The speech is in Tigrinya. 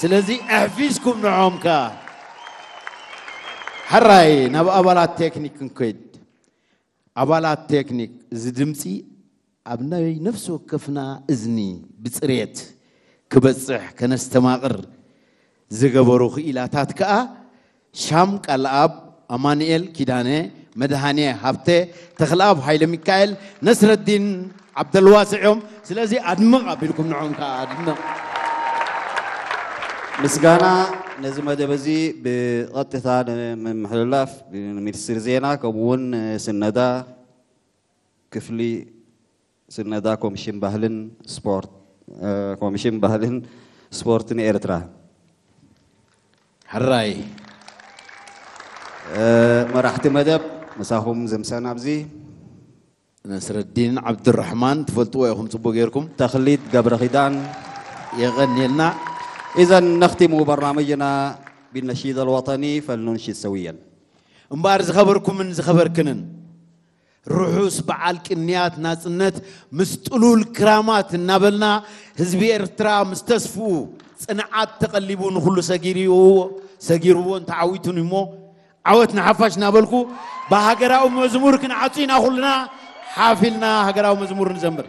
ስለዚ ኣሕፊዝኩም ንዖም ከኣ። ሕራይ ናብ ኣባላት ቴክኒክ ክንከይድ። ኣባላት ቴክኒክ፣ እዚ ድምፂ ኣብ ናይ ነፍሲ ወከፍና እዝኒ ብፅሬት ክበፅሕ ከነስተማቕር ዝገበሩ ክኢላታት ከኣ ሻም ቃልኣብ፣ ኣማኑኤል ኪዳነ፣ መድሃኔ ሃብተ፣ ተኽልኣብ ሃይለ ሚካኤል፣ ነስረዲን ዓብደልዋስዕ እዮም። ስለዚ ኣድምቕ ኣቢልኩም ንዖም ከኣ ኣድምቕ። ምስጋና ነዚ መደብ እዚ ብቐጥታ ንምምሕልላፍ ንሚኒስትሪ ዜና ከምኡ እውን ስነዳ ክፍሊ ስነዳ ኮሚሽን ባህልን ስፖርት ኮሚሽን ባህልን ስፖርትን ኤርትራ። ሕራይ። መራሕቲ መደብ ምሳኹም ዝምሰና ኣብዚ። ነስረዲን ዓብዱራሕማን ትፈልጥዎ ኢኹም ጽቡቅ ጌርኩም። ተኽሊት ገብረኺዳን። የቐንየልና። إذا نختم برنامجنا بالنشيد الوطني، فلننشد سويا. እምበኣር ዝኸበርኩምን ዝኸበርክንን ርሑስ በዓል ቅንያት ናጽነት ምስ ጥሉል ክራማት እናበልና ህዝቢ ኤርትራ ምስ ተስፍኡ ጽንዓት ተቐሊቡ ንኹሉ ሰጊርዎ ሰጊርዎን ተዓዊቱን እሞ ዓወት ንሓፋሽ እናበልኩ ብሃገራዊ መዝሙር ክንዓጹ ኢና ኩልና ሓፍ ኢልና ሃገራዊ መዝሙር ንዘምር።